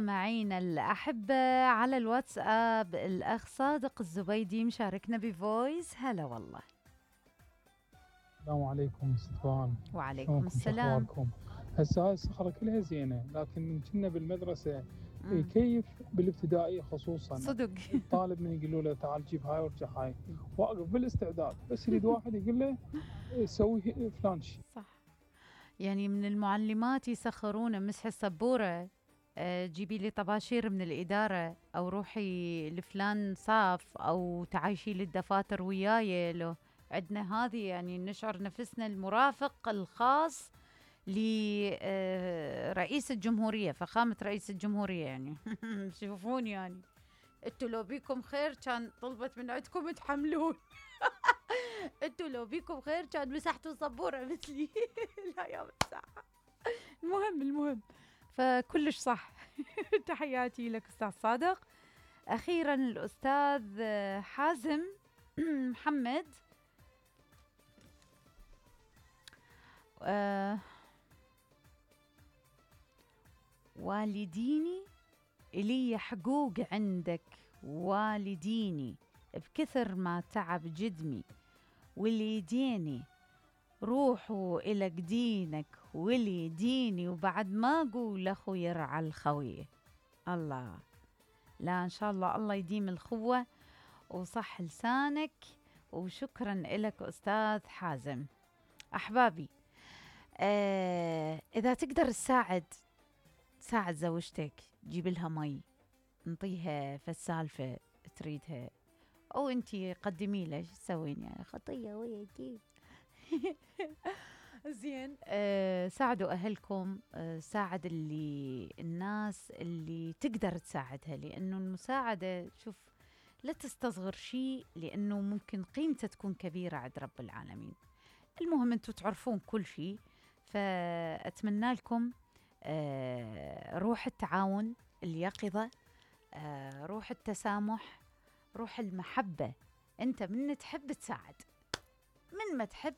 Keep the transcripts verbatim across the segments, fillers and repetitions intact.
مستمعينا الأحبة على الواتساب الأخ صادق الزبيدي مشاركنا بفويس. هلا والله. السلام عليكم ستفان. وعليكم السلام. شخباركم؟ هسه هاي الصخرة كلها زينة، لكن من كنا بالمدرسة مم. كيف بالابتدائية خصوصا صدق. الطالب من يقولوا له تعال جيب هاي وارجع هاي، واقف بالاستعداد بس يريد واحد يقول له سوي فلان شيء. صح، يعني من المعلمات يسخرونا مسح السبورة، آه، جيبي لي طباشير من الإدارة، أو روحي لفلان صاف، أو تعايشي لي الدفاتر وياي. لو عندنا هذه يعني نشعر نفسنا المرافق الخاص لرئيس الجمهورية، فخامة رئيس الجمهورية يعني. شوفون يعني انتوا لو بيكم خير كان طلبت من عندكم تحملون. انتوا لو بيكم خير كان مسحتوا سبورة مثلي. لا يا مساحة. المهم المهم فكلش صح. تحياتي لك أستاذ صادق. أخيرا الأستاذ حازم محمد. آه والديني إلي حقوق عندك، والديني بكثر ما تعب جدمي، واللي يديني روحوا إلى دينك، واللي يديني وبعد ما أقول أخو يرعى الخوي. الله، لا إن شاء الله الله يديم الخوة وصح لسانك. وشكرا لك أستاذ حازم. أحبابي، آه إذا تقدر تساعد تساعد زوجتك، جيب لها مي، انطيها فالسالفة تريدها، أو أنتي قدمي له. شو تسوين يعني؟ خطية وياكي. زين. آه ساعدوا أهلكم، آه ساعد اللي الناس اللي تقدر تساعدها، لأنه المساعدة شوف لا تستصغر شيء، لأنه ممكن قيمته تكون كبيرة عند رب العالمين. المهم أنتوا تعرفون كل شيء، فأتمنى لكم آه روح التعاون، اليقظة، آه روح التسامح، روح المحبة. أنت من تحب تساعد، من ما تحب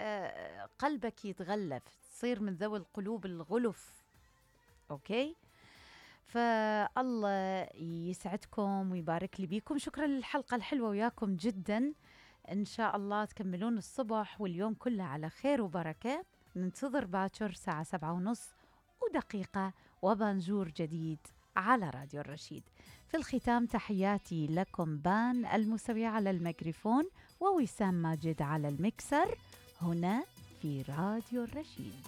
آه قلبك يتغلف، تصير من ذوي القلوب الغلف. أوكي، فالله يسعدكم ويبارك لي بيكم. شكرا للحلقة الحلوة وياكم جدا. إن شاء الله تكملون الصبح واليوم كله على خير وبركة. ننتظر باكر ساعة سبعة ونص ودقيقة وبانجور جديد على راديو الرشيد. في الختام تحياتي لكم بان المسوي على الميكروفون ووسام ماجد على المكسر هنا في راديو الرشيد.